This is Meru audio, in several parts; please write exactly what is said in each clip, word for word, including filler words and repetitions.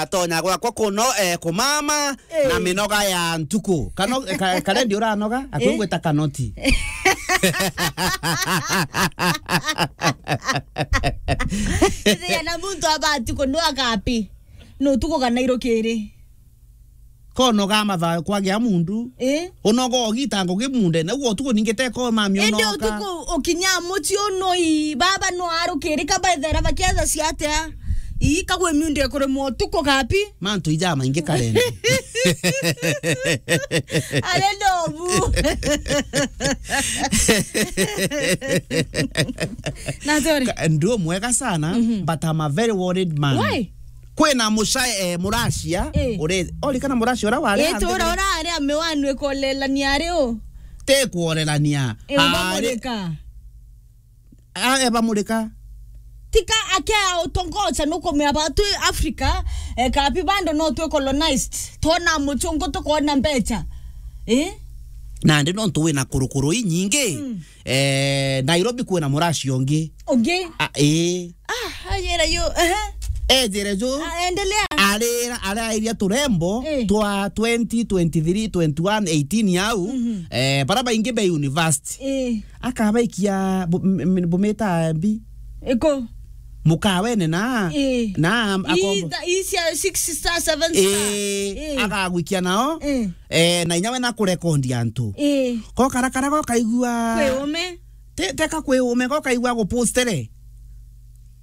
Atonya gwakwa kuno, eh, kumama, eh, na minoga ya ntuku. Kano-, ka-, Karendi uranoga, akwigwita kanoti. Ithia na muntu abati kunwa kapi. No tuko kana irukiri. Konoga matha kwagea mundu. Eh? Unoga ogita ngugi munde, na ugo tuko ningite ko mami. Indi unoka. Utuku ukinya muci unoi, baba no arukiri ka baithera bakietha ciatia. Ii, kagwe miundi ekure motuko kapi. Mantu ija maingi Karendi. Ale nobu. Na sorry. Ka-, ndio mwega sana, mhm, but I'm a very worried man. Why? Kwina mucae, eh, muracia, eh, ure-, ori kana muracia ura wari. Eh, tura ura ari ame wanu ikolelania ari u? Te kuorelania. Eh, ari ubamurika. A, eba murika. Tika akea utongoca nukumea ba twi Africa, eh, kapi bando no twi colonized. Tona muchungu tukona mbecha. Eh? Nandi nontu wina kurukuru inyingi. Mm. Eh, Nairobi kwina muracio ungi. Ungi? A, ii. Ah, ajira yu, ehe. Ejire ju. Ah, endelea. Arira, arairia turembo, eh, twa twenty, twenty-three, twenty-one, eighteen au, mhm, eh, bara baingi be university. Eh. Akabaikia bu-, m-, m-, bumita mbi. Iko? Mukawene na, eh, na am-, ii akombo-, tha-, ii cia six star, seven star. Eh, eh, akagwikia nao. Eh. Eh, na inya we na kurekondi antu. Eh. Ko karakara ko kaigua. Kwi ume. Te-, teka kwi ume, ko kaigua gupostere.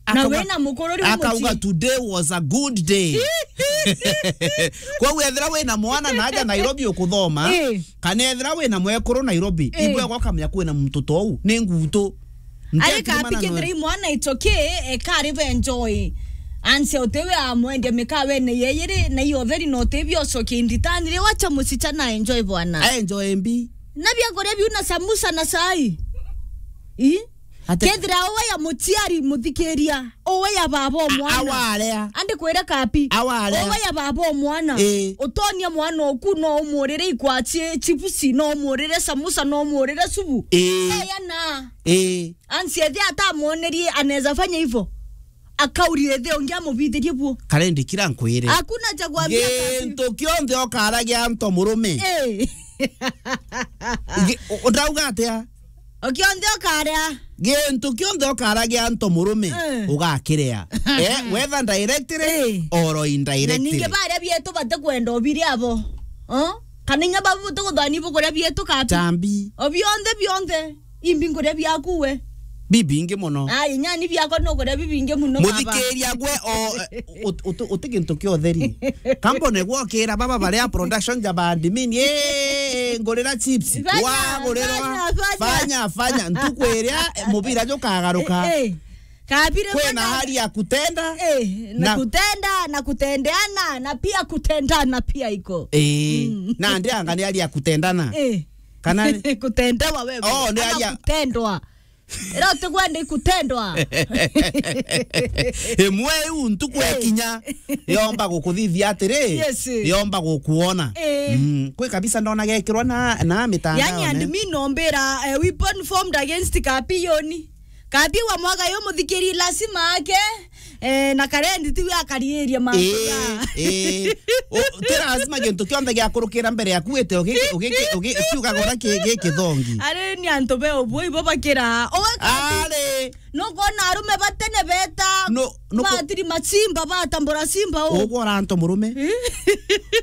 Na akauga, wina mukuru riu akauga, mucii. "Today was a good day." Kwou ethira wina mwana na aja Nairobi ukuthoma, eh, kana ethira wina mwekuru Nairobi, eh, ibwega ukamenya kwina muntu tou, ni ngutu. Ari kapi kethira i mwana it's okay, eka ari be enjoy. Anse utewe amwendia mikawene yeyiri, na iyo theri no tebi ocokie inditani, ri wacha musichana enjoy bwana. Enjoy mbi. Na biakuria biu na samusa na cai. Ii? Ate- Kethira uwe ya muciari muthikiria, uwe ya baba o mwana. Awarea. Andi kwira kapi. Awarea. Uwe ya baba o mwana. Ii. Utonia mwana oku no umurire ikwachi chipusi, no umurire samusa, no umurire subu. Ii. Aya na. Ii. Ansi ethi atamuonerie anaweza fanya hivyo. Akauri ethi ungi amubithirie buo. Karendi kira nkwire. Hakuna cha kuambia kapi. Gintu kionthe okaragia anto murume. Ii. Gi-, u-, ndauga atia? O kionthe ukaria. Gintu kionthe ukaragia anto murume, eh, ugakiria. Eh, whether directly, eh, or indirectly. Na ningi baria bietu batikwenda ubiria abo. Oh? Kana inya babu tuguthani bukuria bietu kapi. Tambi. O bionthe, bionthe. Imbi nkuria biaku we. Bibingi muno. Ai, nyani biakwa nukuria bibingi muno baba. Muthikiria gwe o, eh, ut-, ut-, uti gintu kia utheri. Kambone gwokira baba baria production ja bandimini, eh, ngurira chips. Fanya, wagurirwa. Fanya, fanya, fanya. Fanya, fanya. Ntuku iria, eh, mubira jukagaruka. Eh, eh. Kabire kwina mwana hali ya kutenda. Eh, na na kutenda, na kutendeana, na pia kutendana pia iko. Eh, mm, na ndianga ni hali ya kutendana. Eh. Kana ni kutendewa wewe. Oh, ni ama hali ya kutendwa. Ira utikwenda ikutendwa. Imwe iu ntuku, eh, ekinya, yomba gukuthithia atiri, yes, yomba gukuona. Eh. Mm. Kwi kabisa ndona gekirwa na, na mitandao. Yani, and me nombira, eh, weapon formed against Kapi yoni. Kapi wa mwaga yo muthikiri lazima ake, eh, na Karendi tiwe akariiria mantu. Eh, ya. Eh. O, ti lazima gintu kionthe giakurukira mbere yaku wite ugiki-, ugiki-, ugi-, ukiugaga uria ki-, gi kithongi. Ari ni antu be ubwo ibo bakira. Owe Kapi. Ari. Nukwona arume batene beta. No, nuku- batiri macimba, batambura simba u. Ugwora antu murume. Eh?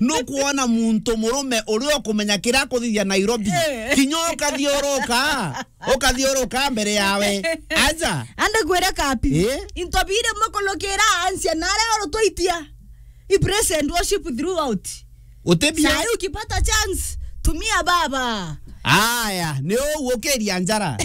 Nukwona muntu murume uria ukumenya kiria akuthithia Nairobi. Eh. Kinya ukathiuruka. Ukathiuruka mbere yawe. Aja. Ande kwira Kapi. Eh? Into bire mukulukira ansia nare oro twaitia. I praise and worship throughout. Utebia. Sai ukipata chance, tumia baba. Aya, ni uu ukiria njara.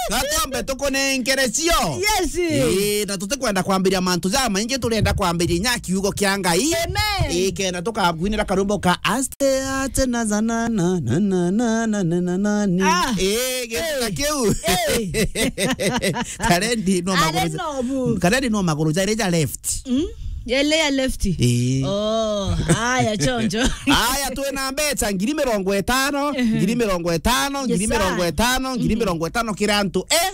Gatwambe tukunengere cio. Yes. Ii, na tutikwenda kwambiria mantu jamaingi, turenda kwambiria inya kiugo kia Ngai. Amen. Ii, kenda tukakwinira karwimbo ka aste aste na zanana na na na na na ni. Ah. Ii, gita kiu. Ii. Karendi no maguru. Are nobu. Karendi no maguru jari ja left. Mm? Yele ya left. Ii. Oh, haya chonjo. Haya, twina mbeca ngiri mirongo itano, ehe, ngiri mirongo itano, ngiri mirongo itano, ngiri mirongo itano kira antu. Eh?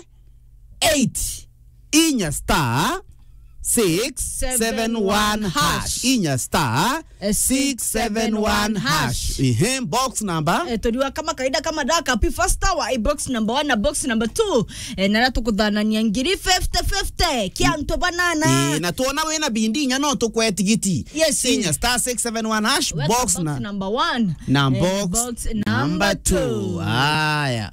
eight, inya star six seven one hash. Inya star six seven one hash. Ehe, box number. Eh, turiwa kama kaida kama daka pi first hour, eh, box number one na box number two. Eh, na tukuthanania ngiri fifty fifty, kia antu banana. Eh, na tuona wina bindi inya no tukwe tigiti. Yes, eh. Inya star six seven one hash, box na number one. Na box number two. Aya.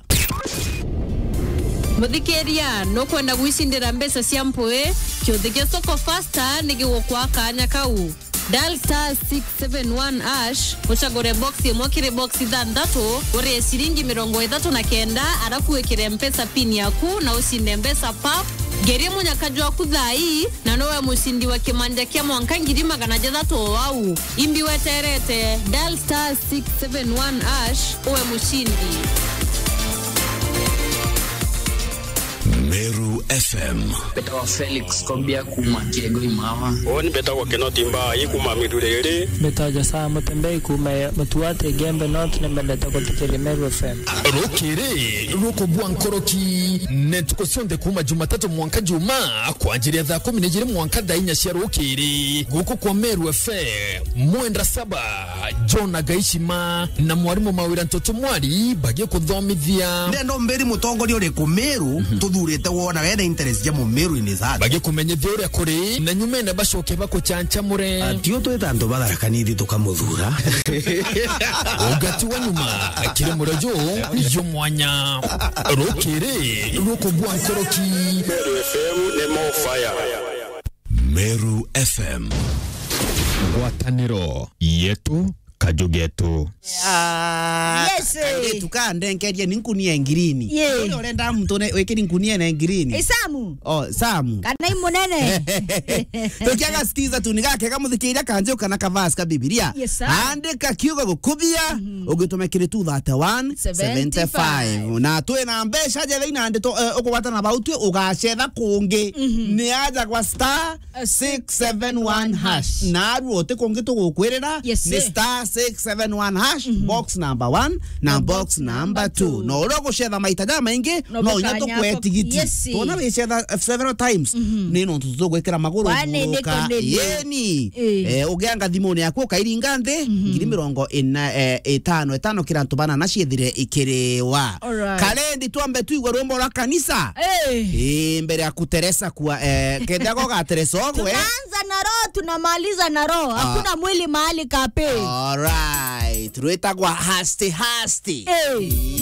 Muthikiria, nukwenda gwicindira mbeca cia mpui? Kiuthi gia Soko Fasta ni gigukwa kanya kau. Dial star six seven one hash, ucagure box imwe kiri box ithanthatu, urie ciringi mirongo ithatu na kenda, arafu wikire Mpesa pin yaku na ucinde mbeca pap. Ngerie munyaka jwaku thaa ii, na nowe mucindi wa kimanja kia mwanka ngiri magana jathatu o au. Imbi weterete, dial star six seven one hash, uwe mucindi. Meru F M. Mbetawa Felix Kobia kuma Kiego Imawa. Uni mbetagwa Kinoti Mbai kuma Miduriri. Mbetawa Josaa Mutembei kuma Mutuati Gembe North, nimendete kuthikiri Meru F M. Rukiri rukubua nkoroki, ni ntuku cionthe kuma Jumatatu mwanka Juma, kwanjiria thaa kumi na ijiri mwanka thaa inya cia rukiri. Guku kwa Meru F M, Mwendwa Saba, John Agaishima na mwarimu Mawira Ntoto Mwari bagikuthomithia. Ndenda umbiri mutongoria uriku Meru tuthurite wona wena interest ja Mumeru in his heart. Bagikumenyithia uria kuri, na nyumene bacoke bakuchanchamure. Ati utwita antu ba Tharaka Nithi tukamuthura. Ugati wa nyuma, kiri murejo, yo mwanya. Rukiri rukubua nkoroki. Meru F M ni more fire. Meru F M. Ngwataniro yetu, kaju getu. Ah, yes, eh. Kairitu ka ndenkerie ni nkunia ngirini. Ye. Ule urenda mtu ne wikiri nkunia na ngirini. Isamu. Oh, Samu. Kana i munene. Tukiaga sikiza tu ni gakega muthikiria kanjio kana kavasi ka Bibilia. Yes, sir. Andika kiugo gukubia, ugitume kiri two thirty-one seventy-five. Na twi na mbeca jega ina ndito, eh, ukugwata na bau twi ugacetha kungi. Ni aja kwa star six seven one hash. Na aru uti kungi tugukwirira. Yes, ni sir. Star six seven one hash, box number one na box number two. No uria ugucetha maita ja maingi, no inya tukwe tigiti. Yes. Tona wicetha, eh, several times. Ni no tugwikira maguru. Kwani niko nini? Yeni. Eh. Eh, ugianga thimuni yaku ukairinga nthi, ngiri mirongo ina, eh, itano, itano kira antu banana ciethire ikiriwa. Alright. Kalendi twambe tuigwe rwimbo rwa kanisa. Eh. Eh, mbere ya kuteresa kwa, eh, kethia gogateresa ogwe. Tunaanza na roho, tunamaliza na roho. Ah. Hakuna mwili mahali kape. Alright. Rwitagwa Hasti Hasti. Eh.